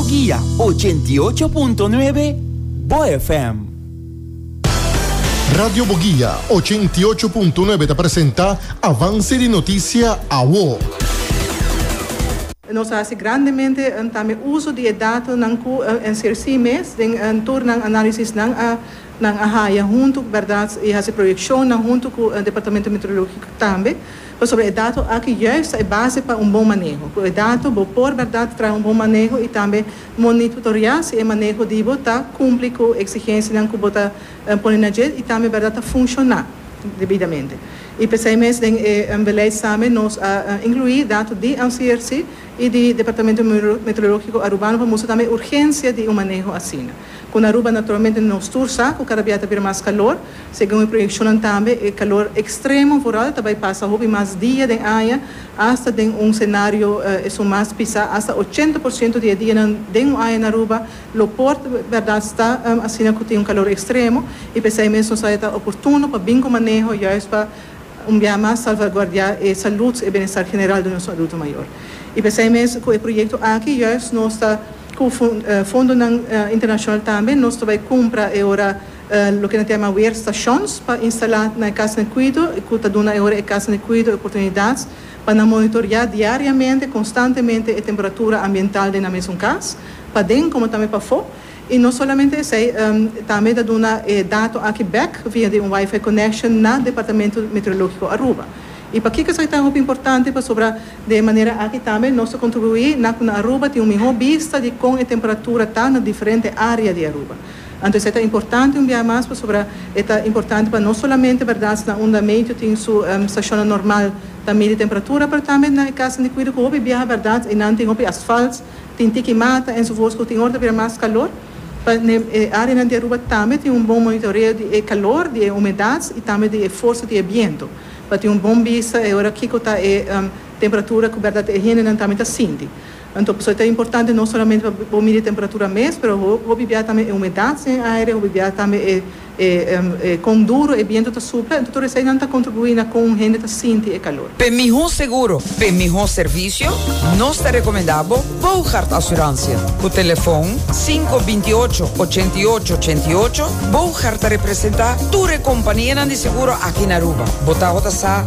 Guia 88.9 Bo FM. Radio Boguia 88.9 ta presenta Avance di Noticia Awo. Nos a hasi grandemente tambe uso di e datonan ku NCRC mes den tur nan análisisnan a nan a haya huntu bèrdat i hasi proyekshonnan huntu ku Departamento Meteorológiko tambe. Pasobra e dato aki juist ta e base pa un bon maneho. Ku e dato bo por bèrdat traha un bon maneho i tambe monitoreá si e maneho di bo ta kumpli ku eksigensianan ku bo ta pone na dje i tambe bèrdat ta funshoná debidamente. I p'esei mes den e beleid tambe nos a inkluí dato di NCRC i di Departamento Meteorológiko Arubano pa mustra tambe e urgensia di un maneho asina. Ku na Aruba naturalmente nos tur sa ku kada bia ta bira mas kalor. Segun e proyekshonnan tambe e kalor ekstremo vooral ta bai pasa hopi mas dia den aña, asta den un senario esun mas pisá, asta 80% di e dianan den un aña na Aruba lo por bèrdat sta asina ku tin un kalor ekstremo i p'esei mes nos a ta oportuno pa bin ku maneho juist pa un bia mas salvaguardiá e salud e bienestar general di nos adulto mayor. I p'esei mes ku e proyekto aki juist nos ta ku fondonan internashonal tambe nos ta bai kumpra e ora loke nan ta yama weerstations pa instalá na e kasnan di kuido i ku ta duna e ora e kasnan di kuido e oportunidat pa nan monitoreá diariamente, konstantemente e temperatura ambiental den nan mesun kas, paden komo tambe pafó. I no solamente esei, tambe ta duna e dato aki bèk via di un wifi connection na Departamento Meteorológiko Aruba. I pakiko esaki ta hopi importante? Pasobra di e manera aki tambe nos ta kontribuí na ku na Aruba tin un mihó bista di kon e temperatura ta na diferente área di Aruba. Anto esei ta importante un bia mas pasobra e ta importante pa no solamente bèrdat na unda meteo tin su stashonnan normal ta midi temperatura pero tambe na e kasnan di kuido ku hopi biaha bèrdat einan tin hopi asfalt, tin tiki mata enzovoorts ku tin ora ta bira mas kalor. Pa na e áreanan di Aruba tambe tin un bon monitoreo di e kalor, di e humedat i tambe di e forsa di e biento pa tin un bon bista e ora kiko ta e temperatura ku bèrdat e hendenan tambe ta sinti. Anto pasobra ta importante no solamente pa bo midi temperatura mes, pero hopi bia tambe e humedat den e aire, hopi bia tambe e e kon duro e biento ta supla, anto tur eseinan ta kontribuí na kon un hende ta sinti e kalor. P'e mihó seguro, p'e mihó servisio, nos ta rekomendá bo Boogaard Assurantie. Ku telefon 528 88 88, Boogaard ta representá tur e kompanianan di seguro aki na Aruba. Bo tabata sa?